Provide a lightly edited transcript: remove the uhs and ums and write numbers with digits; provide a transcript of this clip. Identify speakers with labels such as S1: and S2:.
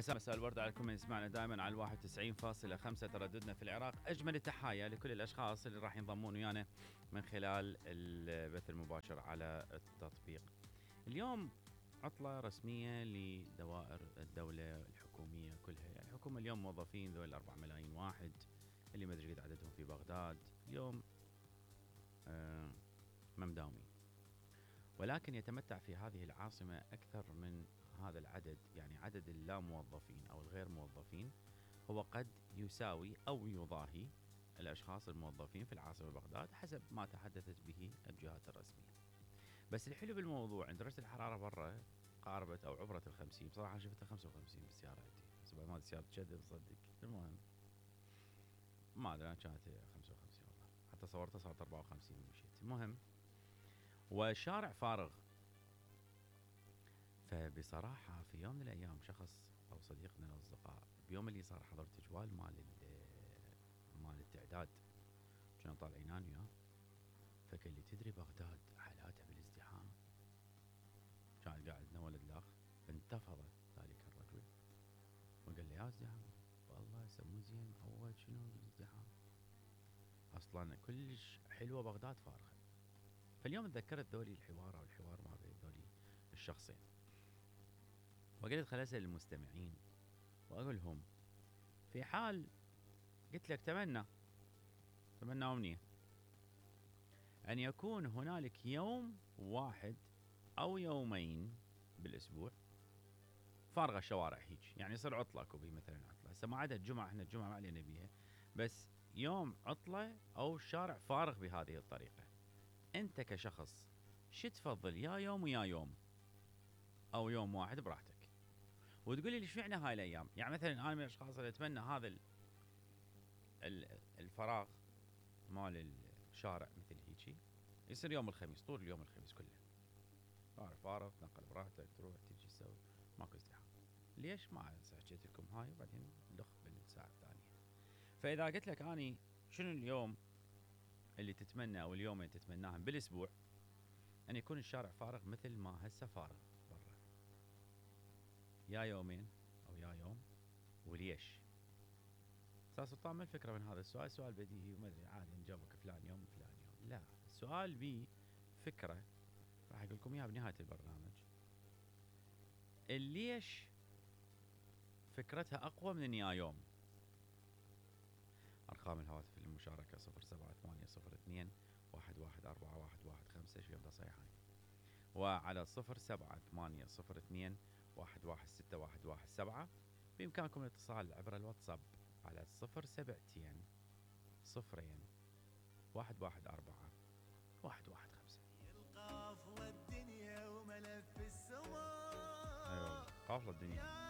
S1: مساء الورد عليكم من يسمعنا دائما على 91.5 ترددنا في العراق. أجمل التحايا لكل الأشخاص اللي راح ينضمون ويانا من خلال البث المباشر على التطبيق. اليوم عطلة رسمية لدوائر الدولة الحكومية كلها، يعني الحكومة اليوم موظفين ذول 4 ملايين واحد اللي ما أدري قد عددهم في بغداد اليوم ما مداومين، ولكن يتمتع في هذه العاصمة أكثر من هذا العدد، يعني عدد اللاموظفين أو الغير موظفين هو قد يساوي أو يضاهي الأشخاص الموظفين في العاصمة بغداد حسب ما تحدثت به الجهات الرسمية. بس الحلو بالموضوع أن درجة الحرارة برا قاربت أو عبرت 50، بصراحة شفتها 55 بسيارتي، بس بعد ما سيارة شدد صدق. المهم ما أدري أنا كانت 55 والله، حتى صورتها صارت 54 ومشيت. المهم وشارع فارغ. فبصراحة في يوم من الأيام شخص أو صديق من الأصدقاء بيوم اللي صار حضر تجوال مال التعداد، كنا طالعين أنا وياه، فقال لي تدري بغداد حالاتها بالازدحام؟ كان قاعد عندنا ولد الأخ، انتفض ذلك الرجل وقال لي يا ازدحام والله سمو زين معود شنو الازدحام، أصلا كلش حلوة بغداد فارغة. فاليوم تذكرت ذولي الحوار أو الحوار ما بين ذولي الشخصين، وقلت خل أسأل المستمعين وأقول لهم في حال قلت لك تمنى أمنية أن يكون هنالك يوم واحد أو يومين بالأسبوع فارغة الشوارع هيك، يعني يصير عطلة كوبي مثلا عطلة، هسه ما عدا الجمعة، احنا الجمعة ما علينا بيها، بس يوم عطلة أو الشارع فارغ بهذه الطريقة، أنت كشخص شو تفضل، يا يوم ويا يوم أو يوم واحد براحتك؟ وتقول لي ليش معنى هاي الايام؟ يعني مثلا انا من الاشخاص اللي اتمنى هذا الفراغ مال الشارع مثل هيجي يصير يوم الخميس، طول اليوم الخميس كله فارغ، تنقل براحتك، تروح تجي تسوي، ماكو ازدحام. ليش؟ ما حكيت لكم هاي وبعدين نلخ بالساعه الثانيه. فاذا قلت لك اني شنو اليوم اللي تتمنى او اليومين تتمناهم بالاسبوع ان يكون الشارع فارغ مثل ما هسه فارغ برا، يا يومين او يا يوم، وليش؟ استاذ سلطان ما الفكره من هذا السؤال؟ سؤال بديهي وما ادري عادي نجاوبك فلان يوم فلان يوم، لا، السؤال بيه فكره راح اقول لكم اياها بنهايه البرنامج. ليش فكرتها اقوى من يا يوم؟ ارقام الهواتف للمشاركه 07802 114115 شويه صحيحه، وعلى 07802 116117. بامكانكم الاتصال عبر الواتساب على 072 0 114 115.
S2: القافلة الدنيا وملف السماء،
S1: ايوه قافلة الدنيا.